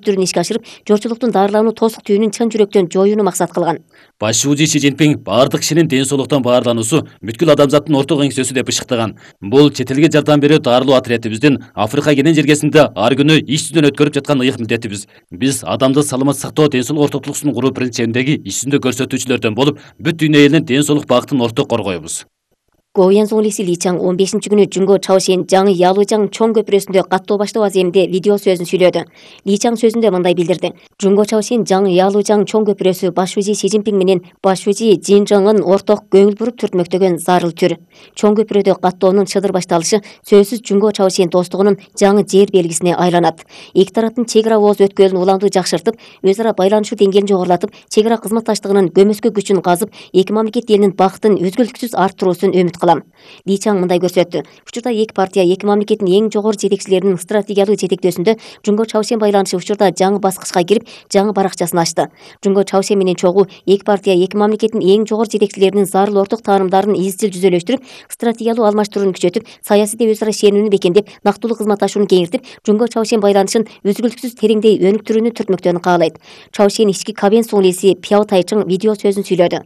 өнүктүрүүнү ишке ашырып, жорчулуктун дарылануу тосук түйүнүн чын жүрөктөн жоюуну максат кылган. Башчы Си Цзиньпин бардык кишинин ден соолуктан баарлануусу бүткүл адамзаттын орток эңсөсү деп ышыктаган. Бул чет элге жардам берүү дарылоо отрядыбыздын Африка кенен жергесинде ар күнү иш жүзүнөн өткөрүп жаткан ыйык милдетибиз. Биз адамды саламат сактоо, ден соолук ортоктулугун куруу принцибиндеги иш жүзүндө көрсөтүүчүлөрдөн болуп, бүт дүйнө элинин ден соолук багытын орток коргойбуз. Гоуян Зонглиси Ли Чаң 15-күнү Жунго Чаошен жаңы Ялужаң чоң көпүрөсүндө каттоо баштоо аземинде видео сөзүн сүйлөдү. Ли Чаң сөзүндө мындай билдирди. Жунго Чаошен жаңы Ялужаң чоң көпүрөсү башчы Си Цзиньпин менен башчы Жинжыңын орток көңүл буруп түртмөктөгөн зарыл түр. Чоң көпүрөдө каттоонун чыдыр башталышы сөзсүз Жунго Чаошен достугунун жаңы жер белгисине айланат. Эки тараптын чек ара ооз өткөлүн уламдуу жакшыртып, өз ара байланышуу деңгээлин жогорулатып, чек ара кызматташтыгынын көмөскө күчүн казып, эки мамлекет элинин бакытын үзгүлтүксүз арттыруусун үмүт кылам. Ли Чаң мындай көрсөттү. Учурда эки партия эки мамлекеттин эң жогору жетекчилеринин стратегиялык жетектөөсүндө Жунго Чаошен байланышы учурда жаңы баскычка кирип, жаңы баракчасын ачты. Жунго Чаошен менен чогуу эки партия эки мамлекеттин эң жогору жетекчилеринин зарыл орток таанымдарын изчил жүзөлөштүрүп, стратегиялык алмаштырууну күчөтүп, саясий өз ара ишенүүнү бекемдеп, нактылуу кызматташууну кеңиртип, Жунго Чаошен байланышын үзгүлтүксүз тереңдей өнүктүрүүнү түртмөктөрүн каалайт. Чаошен ички Кабен Зонглиси Пяо Тайчың видео сөзүн сүйлөдү.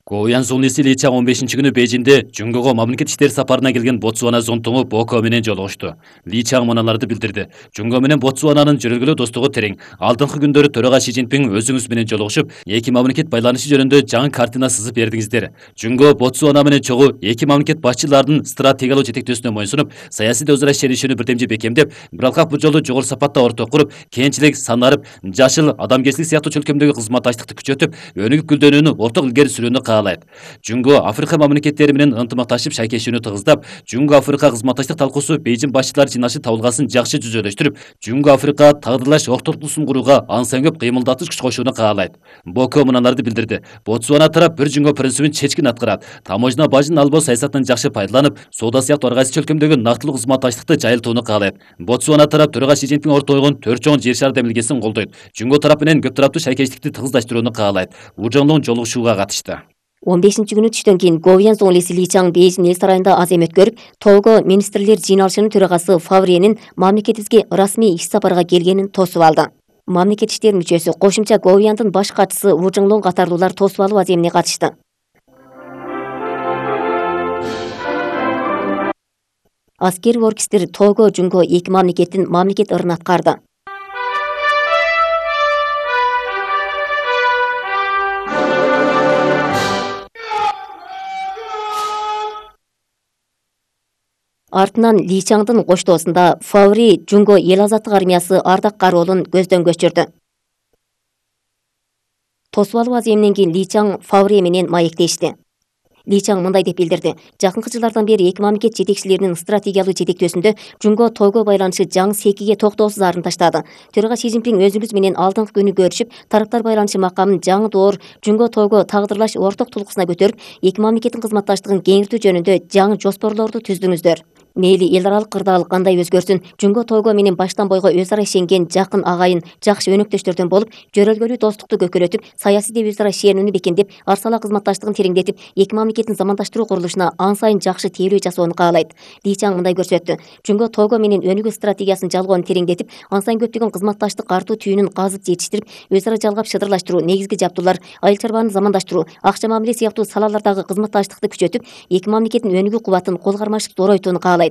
Гоуян Зонглиси Ли Чаң 15-күнү Бейжиңде Жунгого мамлекет иштери сапарына келген Ботсвана зонтугу Боко менен жолугушту. Ли Чаң мыналарды билдирди. Жунго менен Ботсвананын жөрөлгөлүү достугу терең. Алдыңкы күндөрү төрага Си Цзиньпин өзүңүз менен жолугушуп, эки мамлекет байланышы жөнүндө жаңы картина сызып бердиңиздер. Жунго Ботсвана менен чогуу эки мамлекет башчыларынын стратегиялык жетектөөсүнө моюнсунуп, саясий өз ара ишенишүүнү бирдемже бекемдеп, бирок бул жолу жогору сапатта орток куруп, кенчилик, санарып, жашыл, адамгерчилик сыяктуу чөлкөмдөгү кызматташтыкты күчөтүп, өнүгүп гүлдөнүүнү орток илгери сүрүүнү каалайт. Жунго Африка мамлекеттери менен ынтымакташып шайкешүүнү тыгыздап, Жунго Африка кызматташтык талкуусу Бейжиң башчылар жыйналышы табылгасын жакшы жүзөлөштүрүп, Жунго Африка тагдырлаш ортоктулугун курууга ансан көп кыймылдатыш күч кошууну каалайт. Боко мыналарды билдирди. Ботсвана тарап бир Жунго принцибин чечкин аткарат. Таможня бажын албоо саясатын жакшы пайдаланып, соода сыяктуу ар кайсы чөлкөмдөгү нактылуу кызматташтыкты жайылтууну каалайт. Ботсвана тарап төрага Си Цзиньпин ортойгон 4 чоң жер шары демилгесин колдойт. Жунго тарап менен көп тараптуу шайкештикти тыгыздаштырууну каалайт. Ужоңдун жолугушууга катышты. 15-күнү түштөн кийин Гоуян Зонглиси Ли Чаң Бейжиң эл сарайында азем өткөрүп, Того министрлер жыйналышынын төрагасы Фавренин мамлекетибизге расмий иш сапарга келгенин тосуп алды. Мамлекет иштеринин мүчөсү кошумча Гоуяндын баш катчысы Вужыңлоң катарлуулар тосуп алуу аземине катышты. Аскери оркестр Того Жунго эки мамлекеттин мамлекет ырын аткарды. Артынан Ли Чаңдын коштоосунда Фаври Жунго эл азаттык армиясы ардак кароолун көздөн көчүрдү. Тосуп алуу аземинен кийин Ли Чаң Фаври менен маектешти. Ли Чаң мындай деп билдирди. Жакынкы жылдардан бери эки мамлекет жетекчилеринин стратегиялык жетектөөсүндө Жунго Того байланышы жаңы секиге токтоосуз арын таштады. Төрага Си Цзиньпин өзүңүз менен алдыңкы күнү көрүшүп, тараптар байланышы макамын жаңы доор Жунго Того тагдырлаш орток тулкусуна көтөрүп, эки мамлекеттин кызматташтыгын кеңиртүү жөнүндө жаңы жоспорлорду түздүңүздөр. Мейли эл аралык кырдаалык кандай өзгөрсүн, Жунго Того менен баштан бойго өз ара ишенген жакын агайын, жакшы өнөктөштөрдөн болуп, жөрөлгөлүү достукту көкөлөтүп, саясий өз ара ишенүүнү бекемдеп, арсала кызматташтыгын тереңдетип, эки мамлекеттин замандаштыруу курулушуна ан сайын жакшы тейлөө жасоону каалайт. Ли Чаң мындай көрсөттү. Жунго Того менен өнүгүү стратегиясын жалгоону тереңдетип, ан сайын көптөгөн кызматташтык артуу түйүнүн казып жетиштирип, өз ара жалгап шыдырлаштыруу, негизги жабдуулар, айыл чарбаны замандаштыруу, акча мамиле сыяктуу салалардагы кызматташтыкты күчөтүп, эки мамлекеттин өнүгүү кубатын кол кармашып зоройтууну каалайт.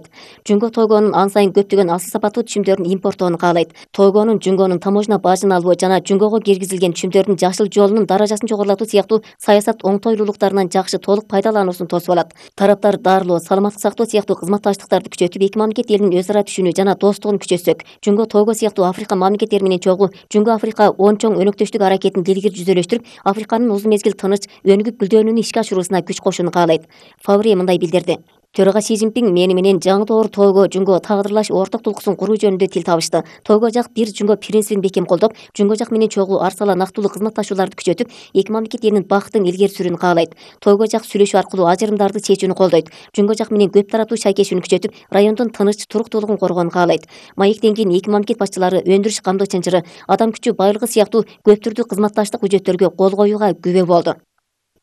Жунго Тогонун ан сайын көптөгөн асыл сапаттуу түшүмдөрүн импорттоону каалайт. Тогонун Жунгонун таможня бажын алуу жана Жунгого киргизилген түшүмдөрдүн жашыл жолунун даражасын жогорулатуу сыяктуу саясат оңтойлуулуктарынан жакшы толук пайдалануусун тосуп алат. Тараптар дарылоо, саламаттык сактоо сыяктуу кызматташтыктарды күчөтүп, эки мамлекет элинин өз ара түшүнүү жана достугун күчөтсөк, Жунго Того сыяктуу Африка мамлекеттери менен чогуу Жунго Африка он чоң өнөктөштүк аракетин илгери жүзөлөштүрүп, Африканын узун мезгил тыныч, өнүгүп гүлдөнүүнү ишке ашыруусуна күч кошууну каалайт. Фаври мындай билдирди. Төрага Си Цзиньпин мени менен жаңы доор Того Жунго тагдырлаш орток тулкусын куруу жөнүндө тил табышты. Того жак бир Жунго принцибин бекем колдоп, Жунго жак менен чогуу арсала нактылуу кызматташууларды күчөтүп, эки мамлекет элинин бакытын илгери сүрүүнү каалайт. Того жак сүйлөшүү аркылуу ажырымдарды чечүүнү колдойт. Жунго жак менен көп тараптуу шайкешүүнү күчөтүп, райондун тыныч, туруктуулугун коргоону каалайт. Маектен кийин эки мамлекет башчылары өндүрүш камдоо чынжыры, адам күчү байлыгы сыяктуу көп түрдүү кызматташтык күчөттөргө кол коюуга күбө болду.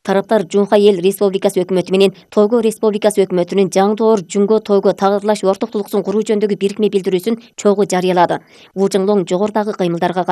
Тараптар Жунха эл Республикасы өкмөтү менен Того Республикасы өкмөтүнүн жаңы доор Жунго Того тагдырлаш орток тулкусын куруу жөнүндөгү бирикме билдирүүсүн чогуу жарыялады. Вужыңлоң жогорудагы кыймылдарга